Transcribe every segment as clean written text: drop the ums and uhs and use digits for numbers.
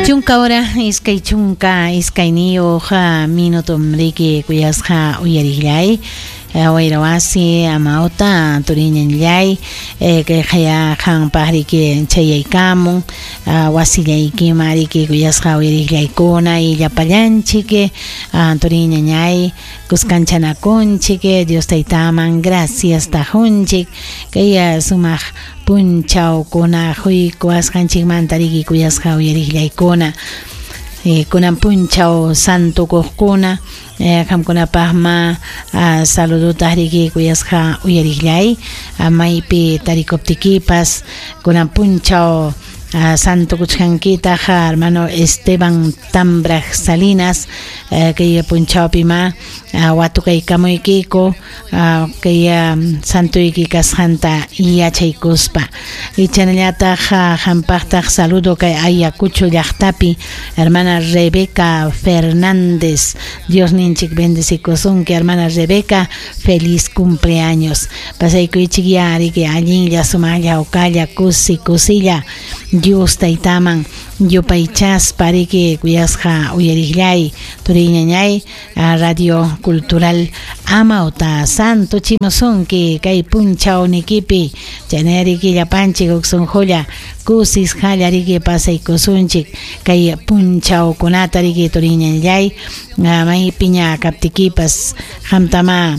Chunka hora 22 minutom riki kuyasqa uyariqllay wayra wasi amawta turiñanllay kayqaya qampaq riki chayaykamun wasillaykima riki kuyasqa uyariqllaykuna y llapallanchik turiñañay kuskanchanakunchik Dios taytaman gracias tajunchik kay sumaq punchawkuna quykuwasqanchikmanta riki kuyasqa uyariqllaykuna kunan punchaw santukuqkuna qamkunapaqma saludota riki kuyasqa uyariqllay maypi tarikuptikipas kunan punchaw santukuchkankitaq hermano Esteban Tambraj Salinas kay punchawpima watukaykamuykiku kay santuyki kasqanta yachaykuspa ichanallataq qampaqtaq saludo kay Ayacucho llaqtapi hermana Rebeca Fernández Dios ninchik bendecikusunki hermana Rebeca feliz cumpleaños pasaykuychik ya riki allinlla sumaqlla hawkalla kusi kusilla Dios taytaman yupaychaspa riki kuyasqa uyariqllay turiñañay Radio Cultural Amauta Santo chimusunki kay punchawnikipi chayna riki llapanchik huk sunqulla kusisqalla riki pasaykusunchik kay punchawkunata riki turiñanllay maypiña kaptikipas qamtama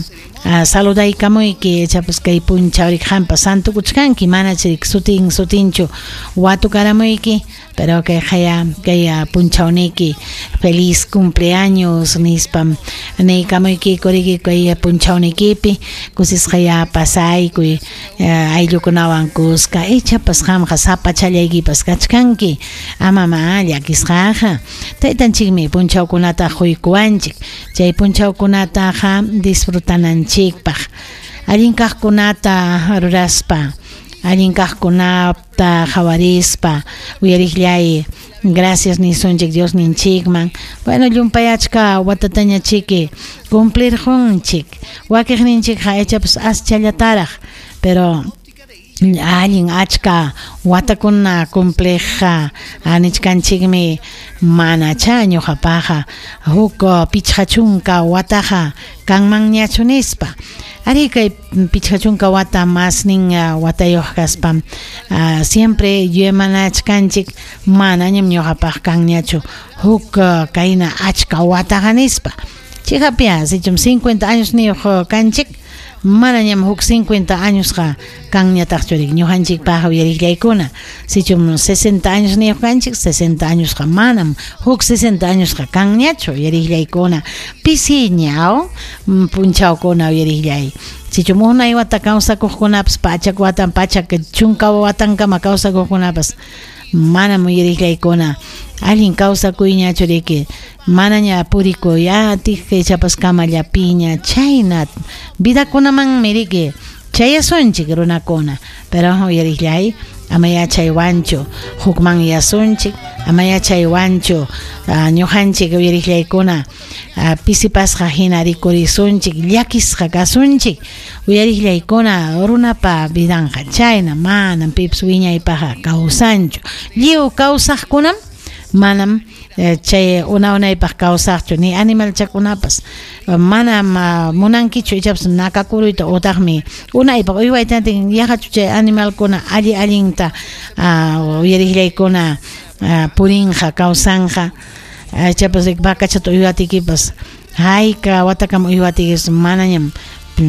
saludaykamuyki ichapas kay punchaw riki qampas santukuchkanki manach sutin sutinchu watukaramuyki pero kay qaya kay punchawniki feliz cumpleaños nispam niykamuykiku riki kay punchawnikipi kusisqaya pasaykuy ayllukunawan kuska ichapas qamqa sapachallaykipas kachkanki amama llakisqaqa taytanchikmi punchawkunata quykuwanchik chay punchawkunataqa disfrutananchikpaq allin kaqkunata ruraspa allin kaqkunata qhawarispa uyariqllay gracias nisunchik Dios ninchikman bueno llumpay achka watataña chiki cumplirqunchik wakiqninchikqa ichapas aschallataraq pero allin achka watakuna cumpliqqa nichkanchikmi manacha ñuqapaqa huk 50 wataqa kanmanñachu nispa ari kay 50 wata masnin watayuq kaspam siempre yuyamanachkanchik manañam ñuqapaq kanñachu huk kayna achka wataqa nispa chikapia sichum 50 años niyuq kanchik manañam huk 50 añosqa kanñataqchu riki ñuqanchikpaq uyariqllaykuna sichum 60 años niyuq kanchik 60 añosqa manam huk 60 añosqa kanñachu uyariqllaykuna pisiña punchawkuna uyariqllay sichum unay wata kawsakuqkunapas pachak watan pachak chunka watankama kawsakuqkunapas manam uyariqllaykuna allin kawsakuyñachu riki manaña purikuy atiq ichapas kamallapiña chayna vidakunamanmi riki chayasunchik runakuna pero uyariqllay ama yachaywanchu hukman yasunchik ama yachaywanchu ñuqanchik uyariqllaykuna pisipasqa hina rikurisunchik llakisqa kasunchik uyariqllaykuna runapa vidanqa chayna manam pipas wiñaypaqqa kawsanchu lliw kawsaqkunam manam chay una unaypaq kawsaqchu ni animalchakunapas manam munankichu ichapas nakakuruyta utaqmi unaypaq uywaytantin yaqachu chay animalkuna alli allinta uyariqllaykuna purinqa kawsanqa ichapas vacachata uywatikipas hayka watakama uywatikipas manañam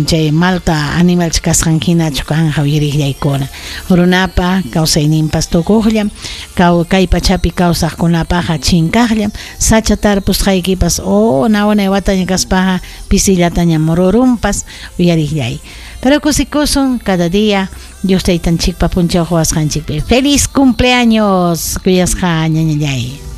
chay malta animalcha kasqan hinachu kanqa uyariqllaykuna runapa kawsayninpas tukuqllam kay pachapi kawsaqkunapaqa chinkaqllam sacha tarpusqaykipas unay wataña kaspaqa pisillatañam rurunpas uyariqllay pero kusikusun cada día Dios taytanchikpa punchaw quwasqanchikpi feliz cumpleaños kuyasqa ñañallay.